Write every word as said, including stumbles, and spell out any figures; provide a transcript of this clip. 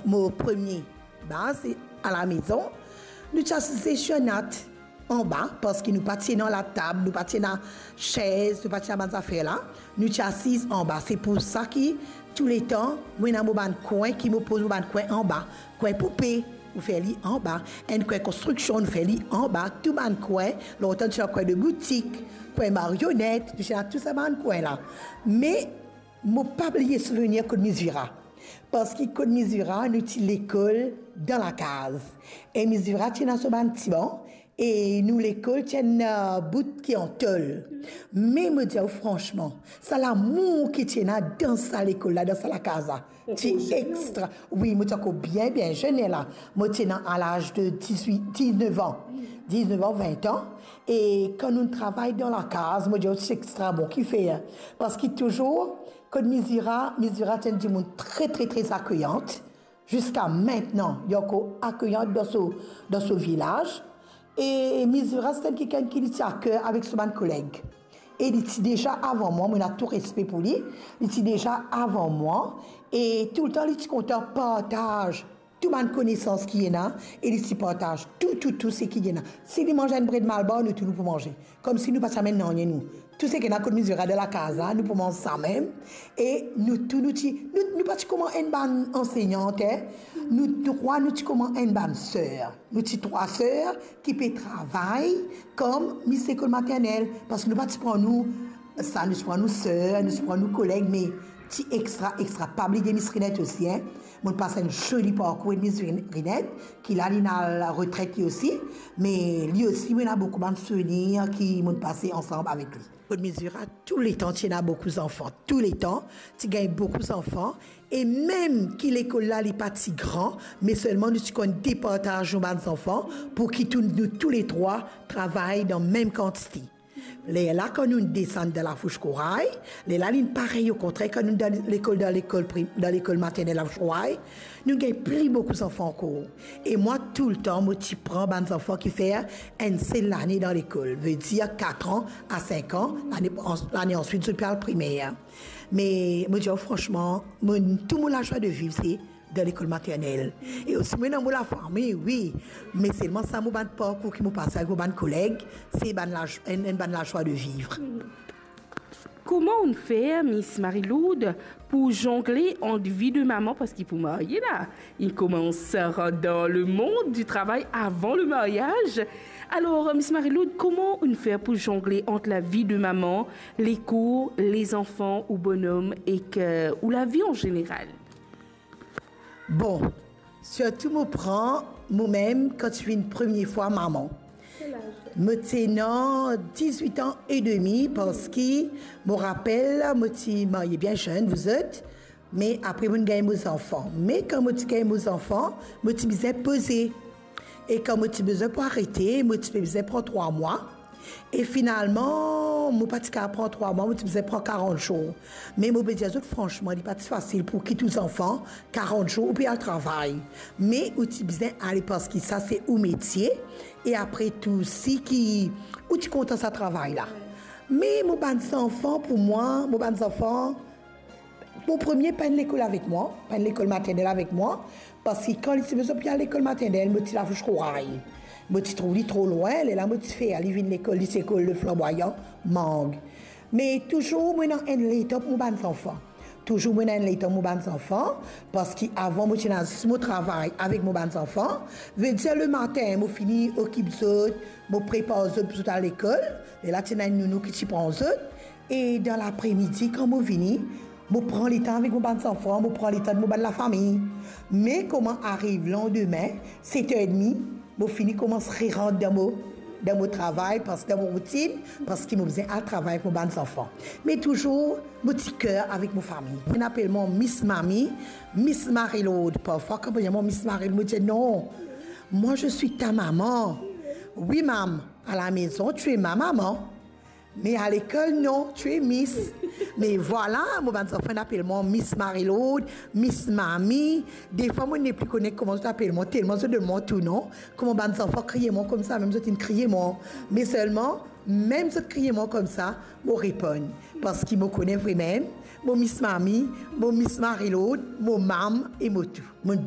Mo premie baz se alamezon. Nou ti asize sir nat anba, parski nou pa ti ena latab, nou pa ti ena sez, nou pa ti ena bann zafer la. Nou ti asiz anba. Se pou sa ki touletan, mo ena mo bann kwin ki mo poz mo bann kwin anba. Kwin poupe, nou fer li anba. Enn kwin konstriksion, nou fer li anba. Tou bann kwin, lontan ti ena kwin de boutik, kwin marionet, nou ti ena tou sa bann kwin la. Me mo pa bliye souvenir kot Miss Vira. Parski kot Miss Vira, nou ti lekol dan lakaz. E Miss Vira ti ena so bann ti ban, e nou lekol ti enn, euh, bout ki an tol. Me mo dir ou fransman, sa lamour ki ti ena dan sa lekol la, dan sa lakaz la, ti extra. Wi, mo ti ankor bien, bien zenn la. Mo ti ena a laz de dizwit, diznef an. Diznef an, vin an. E kan nou travay dan lakaz, mo dir ou, ti extra bon. Kifer? Parski touzour, kot Miss Vira, Miss Vira ti enn dimoun tre, tre, tre akeyant. Ziska mintnan, li ankor akeyant dan so, dan so vilaz. E Miss Vira, se enn kikenn ki li ti a ker avek so bann koleg. E li ti deza avan mwa, mo ena tou respe pou li, li ti deza avan mwa, e touletan li ti kontan partaz tou bann konesans ki ena, e li ti partaz tou, tou, tou seki ena. Si li manz enn bred malbar, nou tou nou pou manze. Koumsi nou pa ti amenn nanye nou. Tou seki ena kot Miss Vira dan lakaz la, nou pou manz sa mem. E nou tou nou ti, nou, nou pa ti kouma enn bann anseyant, en. Nou trwa, nou ti kouma enn bann ser. Nou ti trwa ser ki pe travay kom mis lekol maternel, parski nou pa ti pran nou sa, nou ti pran nou ser, nou ti pran nou koleg, me ti extra, extra. Pa bliye Miss Rinette osi, en. Mo pas enn zoli parkour ek Miss Rin-, Rinette, ki la li ena retret li osi, me li osi, mo ena boukou bann souvenir ki mo pase ansam avek li. Kot Miss Vira, touletan ti ena boukou zanfan, touletan ti gagn boukou zanfan, e mem ki lekol la li pa ti gran, me selman nou ti konn departaz nou bann zanfan pou ki tou, nou touletrwa travay dan mem kantite. Lerla kan nou desann dan Lafous Koray, lerla linn parey, okontrer kan nou dan lekol, dan lekol prim-, dan lekol maternel Lafous Koray, nou gagn pli boukou zanfan ankor. E mwa, toultan, mo ti pran bann zanfan ki fer enn sel lane dan lekol, vedir kat an a sink an, lane, lane answit, zot pe al primer. Me mo dir ou fransman, mo, tou mo lazwa de viv, se dan lekol maternel. E osi, mo ena mo lafami, wi. Me selman sa, mo bann parkour ki mo pase avek mo bann koleg, se bann laz-, enn, enn bann lazwa de viv. Kouma ou'nn fer, Miss Marie-Lourdes, pou zongle ant vi de mama, parski pou marye la, li koumans rant dan lemond di travay avan lemaryaz. Alor, Miss Marie-Lourdes, kouma ou'nn fer pou zongle ant lavi de mama, lekour, lezanfan, ou bonom ek, euh, ou lavi an zeneral? Bon, sirtou mo pran momem kan ti vinn premie fwa mama. Mo ti ena dizwit an edemi, parski mo rapel, mo ti marye bien zenn, vous êtes, me apre mo'nn gagn mo zanfan. Me kan mo ti gagn mo zanfan, mo ti bizin poze. E kan mo ti bizin pou arete, mo ti pe bizin pran trwa mwa. E finalman, mo pa ti kapav pran trwa mwa, mo ti bizin pran karant zour. Me mo pe dir zot fransman, li pa ti fasil pou kit ou zanfan karant zour, ou pe al travay. Me ou ti bizin ale, parski sa se ou metie. E apre tou, si ki ou ti kontan sa travay la. Me mo bann zanfan, pou mwa, mo bann zanfan, mo premie pa'nn lekol avek mwa, pa'nn lekol maternel avek mwa, parski kan li ti bizin pou al lekol maternel, mo ti Lafous Koray. Mo ti trouv li tro lwin, lerla mo ti fer li vinn lekol, li ti lekol Le Flamboyant, Mang. Me touzour mo ena enn letan pou mo bann zanfan. Touzour mo ena enn letan mo bann zanfan, parski avan mo ti ena zis mo travay avek mo bann zanfan. Vedir lematin, mo fini okip zot, mo prepar zot pou zot al lekol. Lerla ti ena enn nounou ki ti pran zot. E dan lapremidi, kan mo vini, mo pran letan avek mo bann zanfan, mo pran letan mo bann lafami. Me kouma ariv landime, set er edmi, mo fini koumans rerant dan mo, dan mo travay, pas-, dan mo routinn, parski mo bizin al travay avek mo bann zanfan. Me touzour, mo ti ker avek mo fami. Finn apel mwa Miss Mami, Miss Marie-Lourdes. Parfwa, kan mo dir mwa Miss Marie-Lourdes, mo dir, "Non, moi, je suis ta maman." "Oui, mam, à la maison, tu es ma maman." Me alekol, "Non, tu es Miss." Me vwala, mo bann zanfan inn apel mwa Miss Marie-Lourdes, Miss Mami. Defwa, mo nepli kone kouma zot apel mwa, telman zot donn mwa tou non. Kouma bann zanfan kriye mwa koumsa, mem zot inn kriye mwa. Me selman, mem zot kriye mwa koumsa, mo reponn. Parski mo kone vremem, mo Miss Mami, mo Miss Marie-Lourdes, mo mam e mo tou. Mo'nn